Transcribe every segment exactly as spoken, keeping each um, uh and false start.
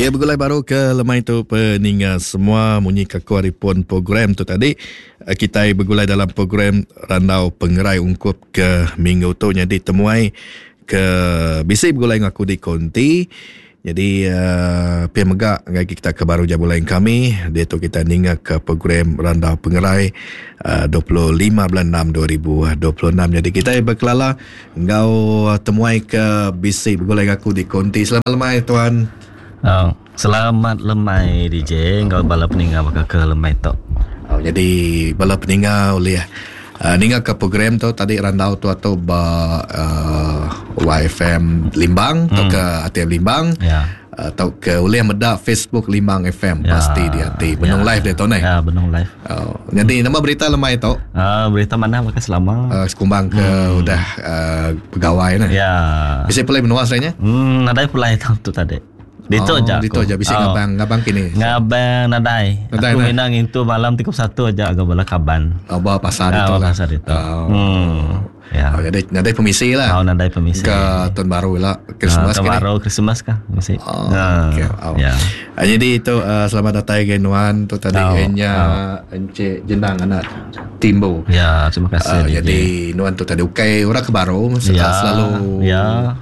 Ya, begulai baru ke lemai tu peninga semua munyi ke aku hari pun program tu tadi. Kita begulai dalam program Randau Pengerai ungkup ke minggu tu jadi temuai ke bisi begulai dengan aku di konti. Jadi uh, pia mega ngai kita ke baru jabulai kami dia tu kita ninga ke program Randau Pengerai uh, dua puluh lima bulan enam dua ribu dua puluh enam. Jadi kita berkelala ngau temuai ke bisi begulai aku di konti. Selamat lemai tuan. Oh, selamat lemai D J ngau bala peninga baka ke lemai tu. Oh, jadi bala peninga oleh Uh, ninga ke program tu tadi randau tu atau ba uh, Y F M Limbang hmm. atau ke A T M Limbang ya. Atau ke oleh meda Facebook Limbang F M ya. Pasti dia ti benung ya. Live dia tu ni. Ya, benung live. Uh, jadi nama berita lemai tu? Uh, berita mana maka selama uh, sekumbang ke hmm. udah uh, pegawai nah. Ya. Bisa pulai menua sebenarnya? Hmm, nadai pulai tu tadi. Dito oh, aja. Dito aja bisa oh. ngabang ngabang kini. Ngabang nadai. Nadai aku nah. minang itu malam tiga puluh satu aja agak bala kaban. Oh, bawa pasar ah, itu lah. Pasar itu. Oh. Hmm. Ya. Oh, jadi nadai pemisi lah. Oh, nadai pemisi. Ke tahun baru lah, Christmas ah, tahun baru Christmas kah? Mesti. Oh, nah, okay. Oh. Ya. Ah, jadi itu uh, selamat datang ke Nuan tu tadi oh. enya oh. Encik Jenang anak Timbo. Ya, terima kasih. Uh, jadi Nuan tu tadi ukai orang ke baru ya. Selalu. Ya.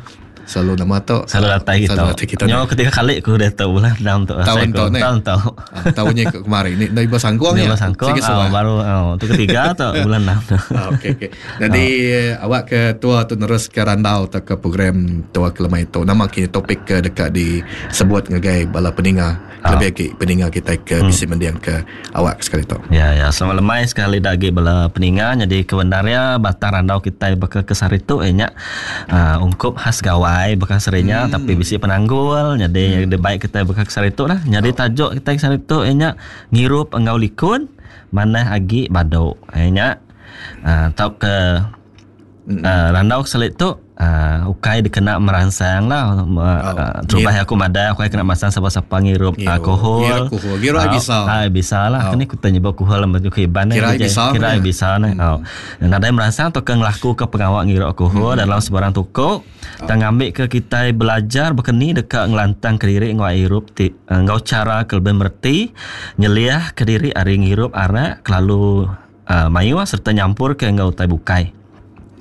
Selalu nama tu selalu datang kita. Selalu datang kita. Nyo ketika kali aku dah tahu bulan enam tu. Tahun tu ni. Tahun tu. Tahunnya ke kemarin ni dari Basangkuang ya. ya. Basangkuang oh, baru oh, tu ketiga atau bulan enam tu. Okey okey. Jadi oh. awak ke tua tu terus ke randau atau ke program tua ke lemai tu. Nama kini topik ke dekat disebut ngagai bala peninga. Oh. Lebih lagi peninga kita ke hmm. bisi mendiang ke awak sekali tu. Ya ya, selamat lemai sekali lagi bala peninga. Jadi kebenarnya batang randau kita bakal ke sehari tu eh nya uh, ungkup khas gawai bekas serinya hmm. tapi bisi penanggul jadi hmm. baik kita bekas sehari tu lah. Jadi oh. tajuk kita sehari tu nya ngirup enggau likun manah agi baduk nya uh, tau ke hmm. uh, randau selit tu uh, ukai dikena merangsang lah uh, oh. terubah aku madah ukai kena merangsang siapa-siapa ngirup alkohol ngirup alkohol ngirup uh, bisa ah bisa lah oh. Kini ku tanya alkohol lah ke iban kira bisa kira bisa nah hmm. oh. Nadai merangsang atau ke ngelaku ke pengawak ngirup alkohol hmm. dalam sebarang toko oh. Tang ngambil ke kita belajar berkeni dekat ngelantang ke diri ngau irup ti ngau cara ke lebih merti nyeliah ke diri ari ngirup arak kelalu uh, mayu serta nyampur ke ngau utai bukai.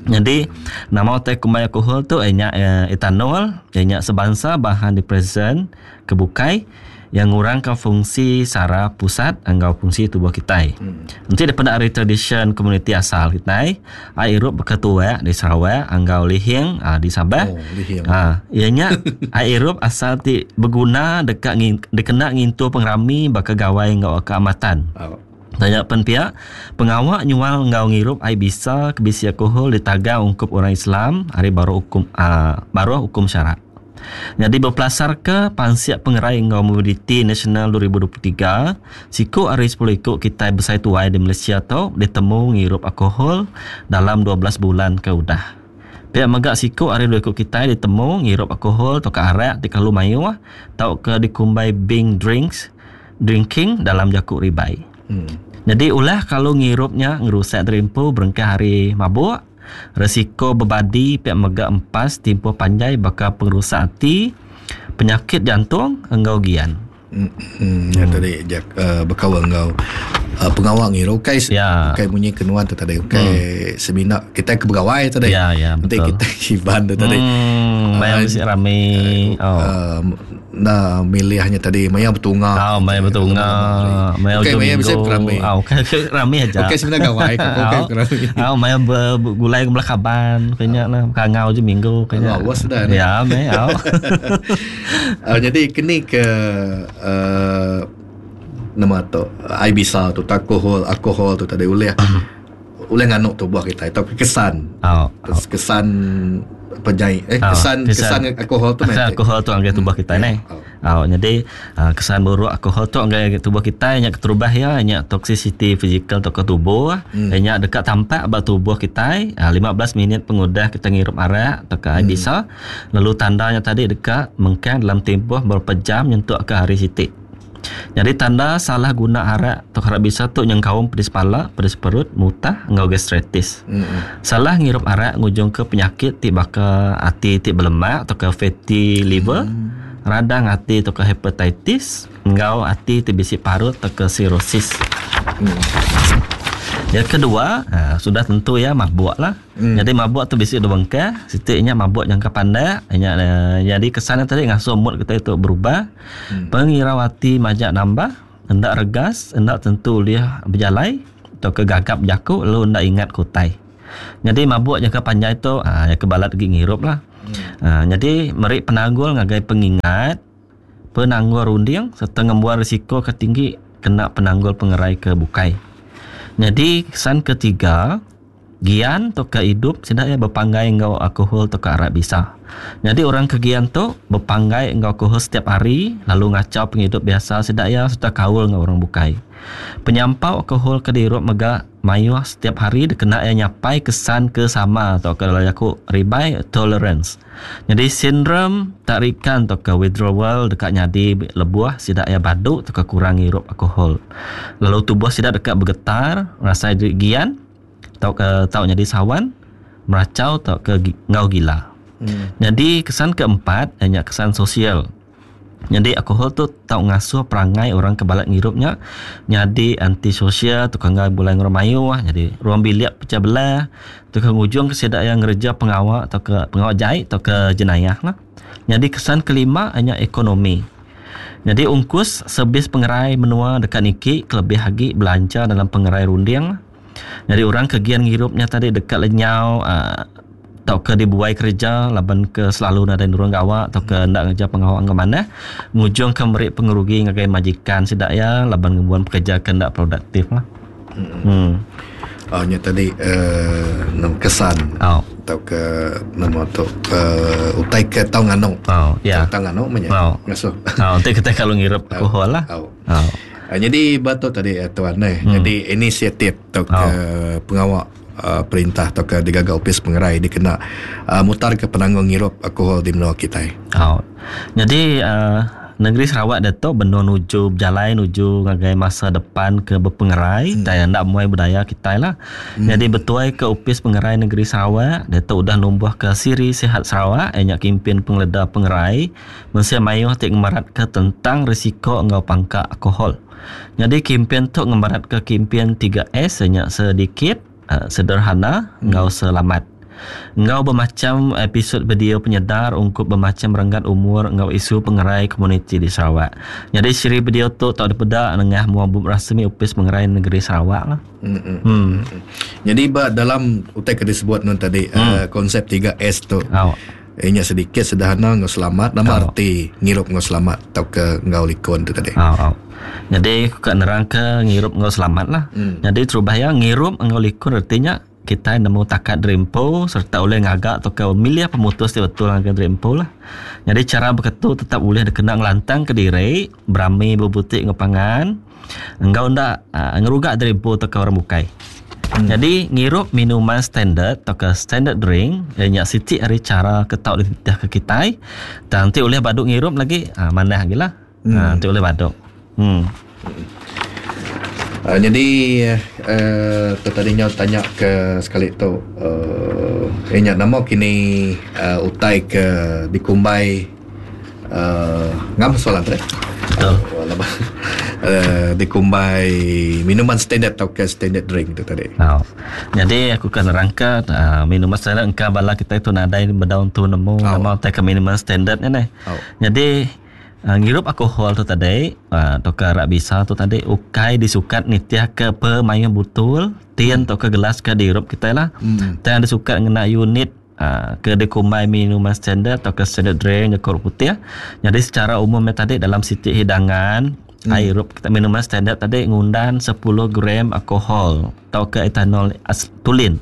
Jadi nama utai kumai alkohol tu enya etanol, enya sebangsa bahan depresan kebukai yang ngurangkan fungsi saraf pusat enggau fungsi tubuh kita. Hmm. Nanti daripada ari tradition komuniti asal kita, ai irup berketua di Sarawak, enggau lihing ah, di Sabah. Oh, lihing. Ah, ianya ai irup asal ti berguna dekat ngin, dikena ngintu pengerami bakal gawai enggau keamatan. Oh. Tanya pen pihak pengawak nyual ngau ngirup ai bisa kebisi alkohol ditaga ungkup orang Islam hari baru hukum uh, baru hukum syarak. Jadi berpelasar ke Pansiak Pengerai Ngau Mobility Nasional dua ribu dua puluh tiga, siku hari sepuluh ikut kita besai tuai di Malaysia tu ditemu ngirup alkohol dalam dua belas bulan ke udah. Pihak megak siku hari dua ikut kita ditemu ngirup alkohol atau ke arak di kalu mayu atau ke dikumbai bing drinks drinking dalam jakuk ribai. Hmm. Jadi ulah kalau ngirupnya ngerusak terimpu berengkah hari mabuk, risiko bebadi pihak megak empas tempoh panjai bakal pengrusak hati, penyakit jantung enggau gian. Hmm, hmm. Ya tadi jak uh, berkawal enggau uh, pengawal ngirup kai ya. Kai bunyi kenuan tu tadi kai hmm. semina kita ke pegawai tadi. Ya ya nanti betul. Kita iban tu tadi. Hmm, maya mesti rame. Uh, Oh. Uh, nah milihnya tadi maya bertunga. Oh, maya bertunga. Maya okay, ujung maya minggu. bisa rame. Oh, okay, rame aja. Okey sebenarnya gawai kau okey rame. Oh, maya bergulai ke belakaban kayaknya lah kangau je minggu kayaknya. Oh, was dah. Ya, maya. Oh. Uh, jadi kini ke uh, nama tu ai bisa tu alkohol alkohol tu tadi uleh uleh nganuk tubuh kita atau kesan. Oh, oh. Kesan penyai eh oh, kesan kesan, kesan alkohol tu kesan alkohol tu anggai tubuh kita hmm. ni. Oh. Oh, jadi uh, kesan buruk alkohol tu anggai tubuh kita nya keterubah ya nya toxicity fizikal tu ke tubuh hmm. nya dekat tampak ba tubuh kita uh, lima belas minit pengudah kita ngirup arak atau ke hmm. bisa lalu tandanya tadi dekat mengkang dalam tempoh beberapa jam nyentuk ke hari sitik. Jadi tanda salah guna arak atau arak bisa tu yang kaum pedis pala, pedis perut, mutah, enggau gastritis. Mm-hmm. Salah ngirup arak ngujung ke penyakit ti baka hati ti berlemak atau ke fatty liver, mm. Radang ati atau ke hepatitis, enggau ati ti bisi parut atau ke sirosis. Hmm. Yang kedua, ha, sudah tentu ya mabuk lah. Hmm. Jadi mabuk tu bisi dua bengkah, sitiknya mabuk jangka pendek, nya jadi kesannya tadi ngasuh mood kita itu berubah. Hmm. Pengirau ati majak nambah, hendak regas, hendak tentu dia berjalai atau ke gagap jaku lalu hendak ingat kutai. Jadi mabuk jangka panjang itu ha, ya kebalat lagi ngirup lah. Hmm. Ha, jadi meri penanggul ngagai pengingat, penanggul runding serta ngembuan risiko ke tinggi kena penanggul pengerai ke bukai. Jadi kesan ketiga, gian atau ke hidup sudah ya berpanggai enggau alkohol atau ke arak bisa. Jadi orang kegian tu berpanggai enggau alkohol setiap hari lalu ngacau penghidup biasa sudah ya serta kaul enggau orang bukai. Penyampau alkohol ke dirup mega mayuh setiap hari dikena ya nyapai kesan ke sama atau ke dalam aku ribai tolerance. Jadi sindrom tarikan atau ke withdrawal dekat nyadi lebuh sidak ya baduk atau ke kurang ngirup alkohol. Lalu tubuh sidak dekat bergetar, rasa gian atau ke tau jadi sawan, meracau atau ke ngau gila. Hmm. Jadi kesan keempat hanya kesan sosial. Jadi alkohol tu tau ngasuh perangai orang kebalat ngirupnya jadi antisosial, tukang ngai bulan ngeramayuh, jadi ruang bilik pecah belah, tukang ujung ke sidak yang ngereja pengawak atau ke pengawak jahit atau ke jenayah lah. Jadi kesan kelima hanya ekonomi. Jadi ungkus sebis pengerai menua dekat niki kelebih lagi belanja dalam pengerai runding. Jadi orang kegian ngirupnya tadi dekat lenyau uh, atau ke dibuai kerja laban ke selalu nada nurung gawak atau ke ndak ngeja pengawak ke mana ngujung ke meri pengerugi ngagai majikan sidak ya laban ngembuan pekerja ke ndak produktif lah. Hmm. hmm. Oh nya tadi uh, nama kesan oh. Atau ke nama tu uh, utai ke tau nganu. Oh ya. Tau nganu menya. Oh. Ngasuh. Oh, nanti kita kalau ngirup alkohol lah. Oh. Oh. Uh, jadi batu tadi uh, tuan eh. Hmm. Jadi inisiatif atau ke oh. pengawak Uh, perintah atau ke digagal opis pengerai dikena uh, mutar ke penanggung ngirup alkohol di menua kita. Oh. Jadi uh, negeri Sarawak dato benar nuju berjalan nuju ngagai masa depan ke berpengerai hmm. dan ndak muai budaya kita lah. Hmm. Jadi betuai ke opis pengerai negeri Sarawak dato udah numbuh ke siri Sihat Sarawak enyak kimpin pengeleda pengerai mensia mayuh tik ngemarat ke tentang risiko enggau pangka alkohol. Jadi kimpin tu ngemarat ke kimpin tiga S enyak sedikit sederhana enggau selamat. Enggau bermacam episod video penyedar ungkup bermacam renggat umur enggau isu pengerai komuniti di Sarawak. Jadi siri video tu tak dipeda nengah muabub rasmi Opis Pengerai Negeri Sarawak lah. Hmm. Hmm. Jadi ba dalam utai ke disebut nun tadi hmm. uh, konsep tiga S tu. Oh. Inya sedikit sederhana enggau selamat nama oh. arti ngirup enggau selamat atau ke enggau likon tu tadi. Oh, oh. Jadi aku kat nerang ke ngirup enggau selamat lah. Hmm. Jadi terubah ya ngirup enggau likun artinya kita nemu takat derimpo serta oleh ngagak atau ke milih pemutus ti betul ngagai derimpo lah. Jadi cara berketu tetap boleh dikena ngelantang ke diri, berami berbutik ngepangan, enggau ndak uh, ngerugak derimpo atau ke orang bukai. Hmm. Jadi ngirup minuman standard atau ke standard drink ianya siti hari cara ketak dititah ke kita. Dan nanti oleh baduk ngirup lagi ha, manah lagi lah. Hmm. Ha, nanti oleh baduk. Hmm. Uh, jadi uh, tu tadi nyaw tanya ke sekali tu uh, ingat nama kini uh, utai ke dikumbai uh, ngam soalan tu eh? Betul. Uh, uh, dikumbai minuman standard atau ke standard drink tu tadi. Oh. Jadi aku kan rangka uh, minuman standard engka bala kita itu nadai bedaun tu nemu oh. nama utai ke minuman standard ni. Oh. Jadi Uh, ngirup alkohol tu tadi uh, atau ke arak bisa tu tadi ukai disukat nitiah ke pemayuh butul tin atau ke gelas ke dirup kita lah. Hmm. Dan disukat ngena unit uh, ke dikumbai minuman standard atau ke standard drink ke putih. Jadi secara umumnya tadi dalam siti hidangan hmm. air rup kita minuman standard tadi ngundan sepuluh gram alkohol atau ke etanol as, tulin.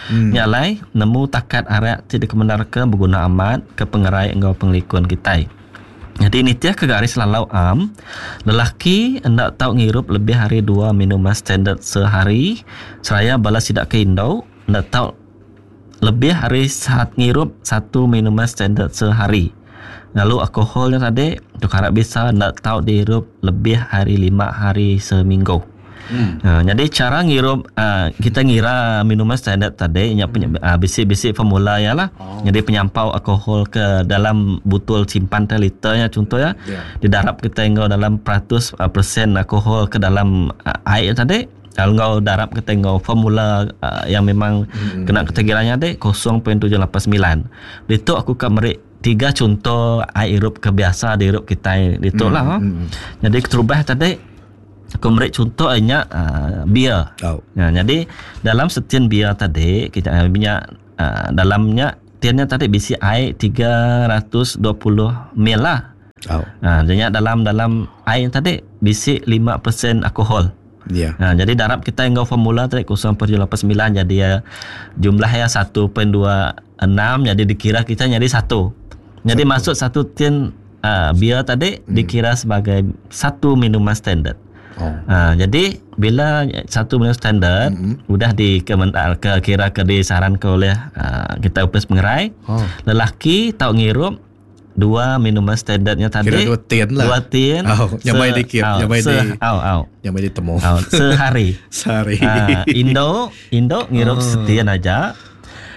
Hmm. Nyalai nemu takat arak tidak kemenarkan berguna amat ke pengerai enggau penglikun kita. Jadi nitiah ke garis lalau am, lelaki hendak tahu ngirup lebih hari dua minuman standard sehari, seraya balas tidak ke Indo, hendak tahu lebih hari saat ngirup satu minuman standard sehari. Lalu alkoholnya tadi, untuk harap bisa hendak tahu dihirup lebih hari lima hari seminggu. Hmm. Ha, jadi cara ngirup uh, kita ngira minuman standard tadi nya hmm. uh, bisi-bisi formula ya lah. Oh. Jadi penyampau alkohol ke dalam botol simpan teh liternya contoh ya. Yeah. Didarap kita enggau dalam peratus uh, persen alkohol ke dalam uh, air tadi. Kalau enggau darap kita enggau formula uh, yang memang hmm. kena ketegiranya tadi kosong perpuluhan tujuh lapan sembilan. Ditu aku ka meri tiga contoh air irup ke biasa diirup kita ditu lah. Hmm. Hmm. Jadi keterubah tadi aku beri contoh nya uh, bir. Oh. Ya, jadi dalam setian bir tadi kita uh, minyak uh, dalamnya tiannya tadi bisi air tiga ratus dua puluh ml lah. Oh. Uh, jadi dalam dalam air tadi bisi lima peratus alkohol. Ya. Yeah. Uh, jadi darab kita enggau formula tadi kosong perpuluhan tujuh lapan sembilan jadi uh, jumlahnya satu perpuluhan dua enam jadi dikira kita jadi satu. Jadi satu. Masuk satu tin uh, bir tadi hmm. dikira sebagai satu minuman standard. Oh. Ha, jadi bila satu minuman standard mm-hmm. udah di ke kira ke disarankan oleh uh, kita upis pengerai, oh. lelaki tau ngirup dua minuman standardnya tadi. Kira dua tin lah. Dua tin. Oh, nyamai dikit, oh, nyamai se, di. Au au. Nyamai ditemu. Oh, sehari. Sehari. Ha, Indo, Indo ngirup oh. setian aja.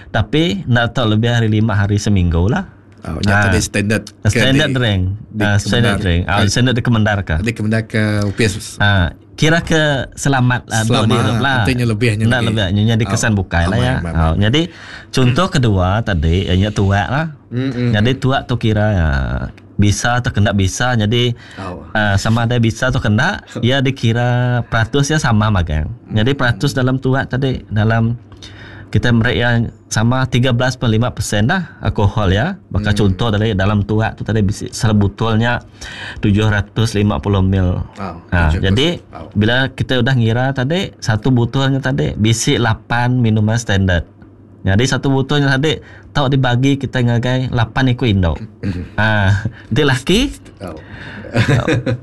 Tapi nak tahu lebih hari lima hari seminggu lah. Oh, nyata di standard standard di, drink. Di uh, standard drink. Ah, uh, standard dikemendarkan. Dikemendarkan U P S. Ah, kira ke selamat uh, selamat lah. Artinya lebihnya nak lebihnya jadi kesan oh, bukai lah ya. Aman, oh, jadi contoh kedua tadi ianya tuak lah. Mm, mm, jadi tuak tu kira ya, bisa atau kena bisa. Jadi oh. uh, sama ada bisa atau kena ya dikira peratusnya sama magang. Jadi peratus dalam tuak tadi dalam kita mereka yang sama tiga belas perpuluhan lima peratus dah alkohol ya. Maka hmm. contoh dari dalam tuak tu tadi sebutulnya tujuh ratus lima puluh ml. Oh, ha, jadi oh. bila kita udah ngira tadi satu botolnya tadi bisi lapan minuman standard. Jadi satu botolnya tadi tau dibagi kita ngagai lapan ekor induk. Ha, dia laki oh.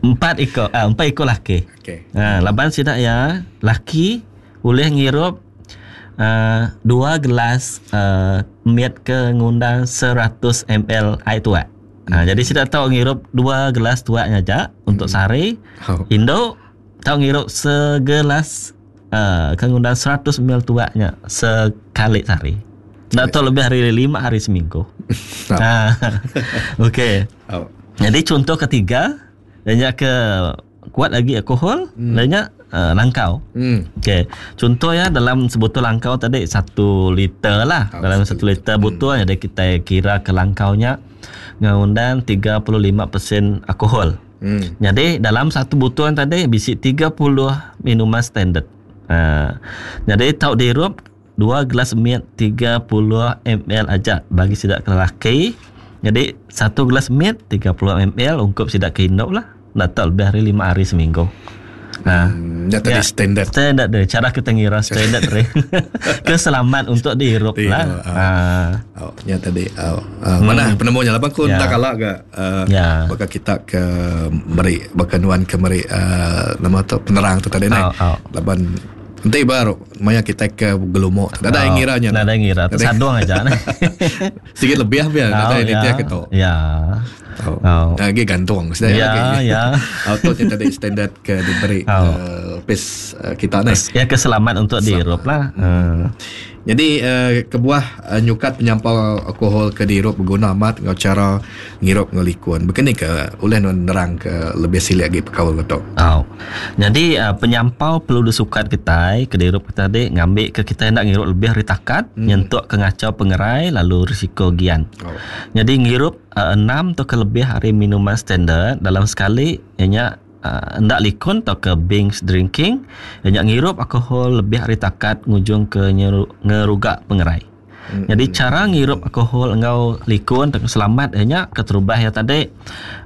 empat ekor, ah, empat ekor laki. Okay. Ha, laban sidak ya, laki boleh ngirup Uh, dua gelas uh, miat ke ngundang seratus mililiter air tuak. Hmm. Ha, jadi saya tahu ngirup dua gelas tuaknya aja hmm. untuk sehari. Oh. Induk tahu ngirup segelas uh, ke ngundang seratus mililiter tuaknya sekali sehari. Tak tahu lebih hari lima hari seminggu. Oh. Ha, okey. Oh. Jadi contoh ketiga, banyak ke kuat lagi alkohol, hmm. banyak Uh, langkau. Hmm. Okey. Contoh ya dalam sebotol langkau tadi satu liter lah. Oh, dalam satu liter botol hmm. jadi kita kira ke langkaunya ngundang tiga puluh lima peratus alkohol. Hmm. Jadi dalam satu botol tadi bisi tiga puluh minuman standard. Uh, jadi tau dirup dua gelas miat tiga puluh mililiter aja bagi sidak ke lelaki. Jadi satu gelas miat tiga puluh mililiter ungkup sidak ke induk lah. Nak tahu lebih hari lima hari seminggu. Nah, hmm, ya tadi ya, standard. Standard deh, cara kita ngira standard deh. Keselamat untuk dihirup lah. Ah. Oh, ya tadi. Oh, uh, hmm. Mana penemunya lah bangku ya. Tak kalah ke uh, ya. Bakal kita ke meri bakal nuan ke meri uh, nama tu penerang tu tadi oh, naik. Oh. Laban nanti baru maya kita ke gelumuk. Tak ada oh, yang ngiranya. Tak ada yang ngira. Tersadung aja. Sikit lebih biar oh, ada ini ya. dia ketok. Ya. Oh. Oh. Lagi gantung sudah ya, lagi. Ya. Auto yang tadi standard ke diberi oh. uh, pis uh, kita ni. Ya keselamat untuk dihirup lah. Hmm. Jadi uh, kebuah uh, nyukat penyampau alkohol ke dihirup berguna amat ngau cara ngirup ngelikun. Begini ke oleh nerang ke lebih silik lagi perkaul betul. Oh. Jadi uh, penyampau perlu disukat kita ke dihirup kita tadi ngambil ke kita nak ngirup lebih hari takat hmm. nyentuk ke ngacau pengerai lalu risiko gian. Oh. Jadi ngirup uh, enam atau ke lebih hari minuman standard dalam sekali ianya uh, hendak likun atau ke binge drinking ianya ngirup alkohol lebih hari takat ngujung ke nyeru, ngerugak pengerai. Mm-hmm. Jadi cara ngirup alkohol engau likun atau selamat ianya keterubah ya tadi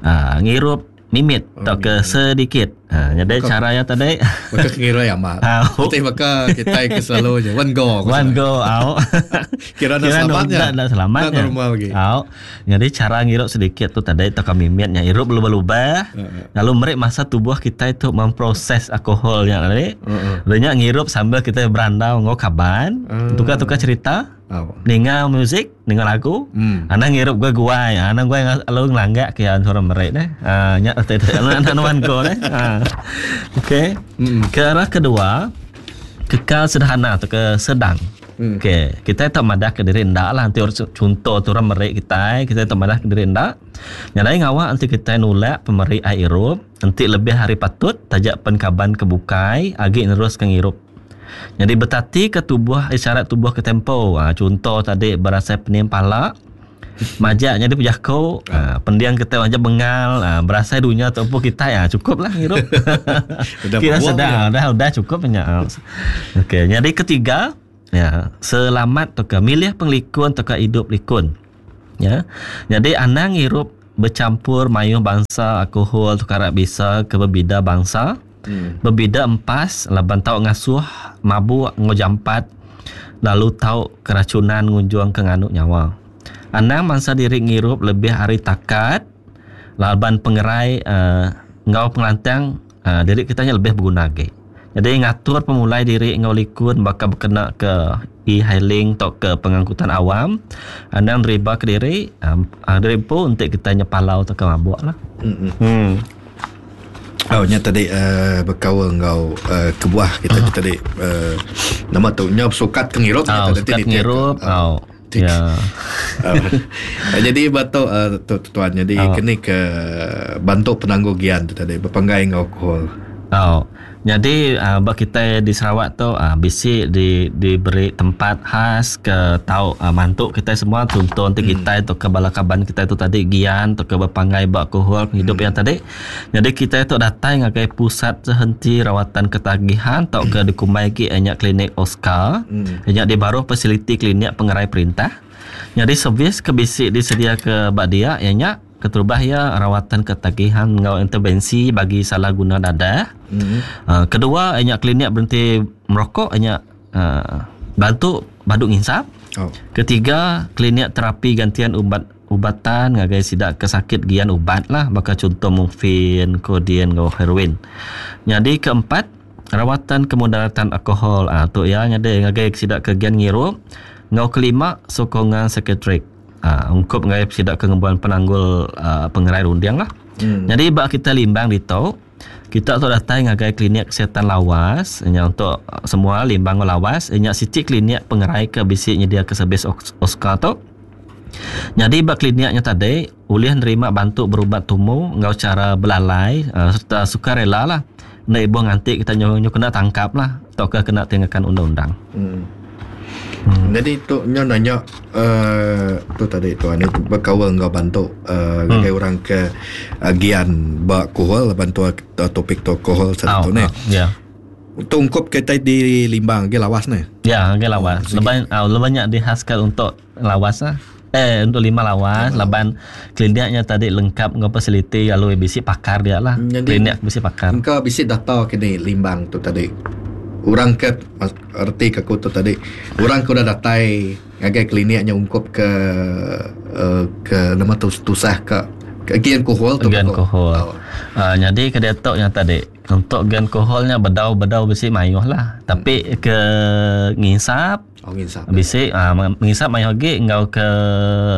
uh, ngirup mimit Oh, atau ke sedikit. Ha, jadi Maka- caranya tadi Maka ngira ya mak. Betul maka kita ke selalu je one go. one go out. Kira nak selamatnya. Nak, nak selamatnya. Nak normal lagi. Out. Jadi cara ngirup sedikit tu tadi atau mimitnya irup lubah-lubah. Heeh. Lalu merik masa tubuh kita itu memproses alkohol yang tadi. Heeh. Lalunya ngirup sambil kita berandau ngau kaban, Hmm. tukar-tukar cerita. Oh. Ninga muzik, ninga lagu. Hmm. Anang ngirup gua guai, anang guai lalu ngelanggak ke orang merik deh. Ah nya anak nuan ko deh. Ah. Okey. Hmm. Ke arah kedua, kekal sederhana atau ke sedang. Hmm. Okey, kita tak madah ke diri ndak lah nanti orang contoh tu orang merik kita, kita tak madah ke diri ndak. Nyadai ngawak nanti kita nulak pemeri air irup, nanti lebih hari patut tajak penkaban kebukai agi nerus ke ngirup. Jadi bertati ke tubuh isyarat tubuh ke tempo. Ha, contoh tadi berasa penim pala, majak jadi pejako, ha, pendiang kita macam bengal, ha, berasa dunia tu apa kita ya cukup lah ngirup. Udah Kira berbuang sedang, ya. dah udah cukup nya. Okey, jadi ketiga ya, selamat tu ke milih penglikun tu ke hidup likun. Ya. Jadi anang ngirup bercampur mayuh bangsa alkohol tu karak bisa ke berbeda bangsa. Hmm. Berbeda empas laban tau ngasuh mabuk ngojampat lalu tau keracunan ngunjung ke nganuk nyawa. Anang mangsa diri ngirup lebih hari takat laban pengerai uh, ngau pengelantang uh, diri kitanya lebih berguna lagi. Jadi ngatur pemulai diri ngau likun bakal berkena ke e-hailing atau ke pengangkutan awam. Anang riba ke diri, um, diri pun untuk kitanya palau atau ke mabuk lah. Hmm. Hmm. Oh, nya tadi uh, berkawal ngau uh, kebuah kita uh. tadi uh, nama tu nya sukat ke ngirup Oh, nya tadi sukat ngirup. Oh. Ya. Uh, jadi batuk uh, tu, tuan jadi Oh. kini ke bantu penangguh gian tu tadi berpanggai ngau alkohol. Oh. Jadi uh, bak kita di Sarawak tu uh, bisi di diberi tempat khas ke tau uh, mantuk kita semua tuntun ti kita tu ke bala kaban kita tu tadi gian tu ke berpanggai bak alkohol hidup hmm. yang tadi. Jadi kita tu datang ngagai pusat sehenti rawatan ketagihan tau ke dikumbai ki nya klinik Oscar. Hmm. Nya di baruh fasiliti klinik pengerai perintah. Jadi servis ke bisi disedia ke bak dia ya nya keterubah ya rawatan ketagihan ngau intervensi bagi salah guna dadah. Hmm. Uh, kedua nya klinik berhenti merokok nya uh, bantu baduk nginsap. Oh. Ketiga klinik terapi gantian ubat ubatan ngagai sidak kesakit gian ubat lah bakal contoh morfin, codeine ngau heroin. Jadi keempat rawatan kemudaratan alkohol ah tu ya nyade ngagai sidak ke gian ngirup. Ngau kelima sokongan psikiatrik. Ah ungkup ngagai sidak ke ngembuan penanggul uh, pengerai runding lah. Hmm. Jadi bak kita limbang ditu kita tu datang ngagai klinik kesihatan lawas nya untuk semua limbang lawas nya siti klinik pengerai ke bisi nyedia ke servis Oscar tu. Jadi bak kliniknya tadi boleh nerima bantu berubat tumu ngau cara belalai uh, serta sukarela lah. Nak ibu nganti kita nyu, nyu kena tangkap lah atau ke kena tindakan undang-undang. Hmm. Hmm. Jadi tu nyo nanya uh, tu tadi tu ni berkawal ngau bantu uh, hmm. orang ke uh, gian bak alkohol bantu uh, topik tu alkohol satu Oh, ni. oh, ya. Tungkup kita di Limbang ke lawas ni. Ya, ke lawas. Oh, Lebih uh, lebih banyak dihaskan untuk lawas lah. Eh untuk lima lawas, laban kliniknya tadi lengkap ngau fasiliti lalu bisi pakar dia lah. Jadi- Klinik bisi pakar. Engkau bisi data ke ni Limbang tu tadi. Orang ke erti ke aku tu tadi. Orang ke udah datai ngagai kliniknya ungkup ke uh, ke nama tu tusah ke ke gian alkohol tu. Gian aku. alkohol. Oh. Uh, jadi ke detok yang tadi untuk gian alkoholnya bedau-bedau bisi mayuh lah. Tapi ke ngisap Oh ngisap. bisi uh, mengisap mayuh lagi ngau ke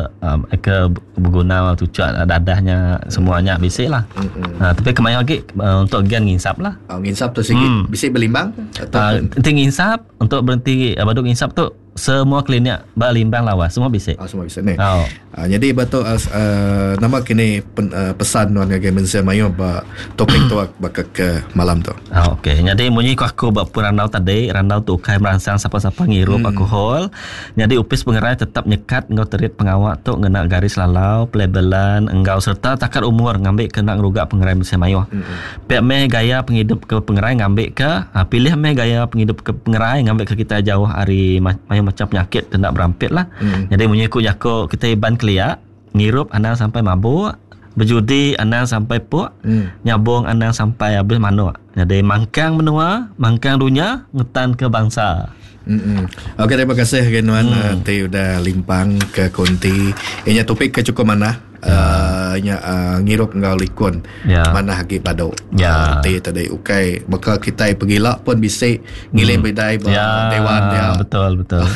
uh, ke berguna tucak dadahnya semuanya bisi lah. Mm-mm. Uh, tapi ke mayuh lagi uh, untuk gian ngisap lah. Oh, ngisap tu sikit. Hmm. Bisi berlimbang atau Uh, nanti ngisap untuk berhenti uh, baduk ngisap tu semua klinik balimbang lawas semua bisi. Oh, semua bisa ni. Oh. Uh, jadi betul uh, uh, nama kini pen, uh, pesan nuan ngagai mensia mayu ba topik tu baka ke malam tu. Ah, okey. Jadi munyi ku aku buat pun randau tadi, randau tu kai merangsang siapa-siapa ngirup hmm. alkohol. Jadi upis pengerai tetap nyekat ngau terit pengawak tu ngena garis lalau, pelabelan, enggau serta takat umur ngambil kena ngerugak pengerai mensia mayuh. Hmm. Pek meh gaya penghidup ke pengerai ngambil ke, ha, pilih meh gaya penghidup ke pengerai ngambil ke kita jauh hari ma- mayuh macam penyakit hendak berampit lah. Hmm. Jadi munyi ku jako kita iban keliak, ngirup anang sampai mabuk, berjudi anang sampai puk, Hmm. nyabung anang sampai habis manuk. Jadi mangkang menua, mangkang dunia, ngetan ke bangsa. Mm-mm. Okey, terima kasih ke Nuan hmm. uh, ti udah limpang ke konti. Inya topik ke cukup mana? Uh, nya uh, ngirup enggau likun. Ya. Manah agi badu. Ya. Uh, reti tadi ukai baka kitai pegila pun bisi ngilim bidai ba Ya, dewan dia. Betul betul.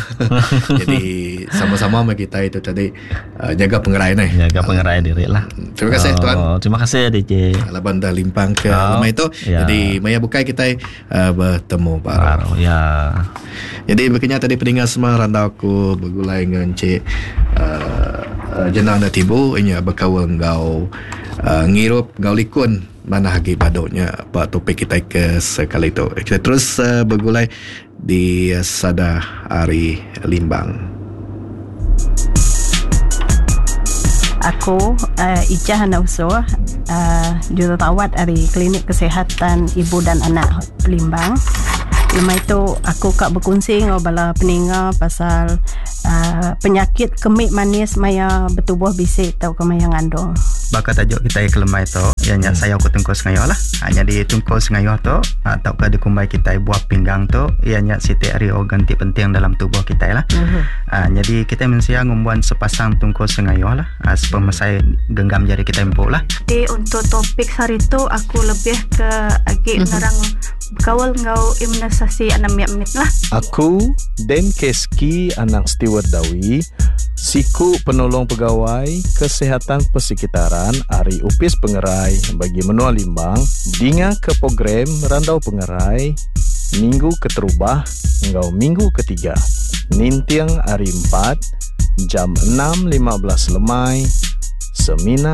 Jadi sama-sama meh kita itu tadi uh, jaga pengerai ni. Jaga pengerai diri lah. Terima kasih oh, tuan. Terima kasih D J. Laban dah limpang ke Oh, lemai itu. ya. Jadi maya bukai kita uh, bertemu baru. Baru ya. Jadi berkenya tadi pendengar semua randau aku bergulai dengan Encik uh, uh, Jenang dan Tibu inya berkawal ngau uh, ngirup ngau likun mana agi baduknya pak topik kita ke sekali itu. Kita terus uh, bergulai di uh, Sada Ari Limbang. Aku uh, Ijah Anak Usuh, uh, jururawat dari Klinik Kesihatan Ibu dan Anak Limbang. Lepas itu aku kak berkongsi dengan bala peninga pasal uh, penyakit kemik manis maya bertubuh bisik atau ke maya ngandung. Bakal tajuk kita ke lemai tu ianya hmm. saya aku tungkul sengayo lah. Ha, jadi tungkul sengayo tu atau ke dikumbai kita buah pinggang tu ianya siti ari organ ti penting dalam tubuh kita lah. Hmm. Ha, jadi kita mensia ngumbuan sepasang tungkul sengayo lah. Ha, sepemasai genggam jari kita empuk lah. Jadi untuk topik hari tu aku lebih ke agi mm-hmm. nerang kawal ngau imunisasi anak mit lah. Aku Den Keski anak Stewart Dawi, siku penolong pegawai kesihatan persekitaran Ari Upis Pengerai bagi Menua Limbang, dinga ke program Randau Pengerai minggu keterubah ngau minggu ketiga. Nintiang hari empat jam enam lima belas lemai semina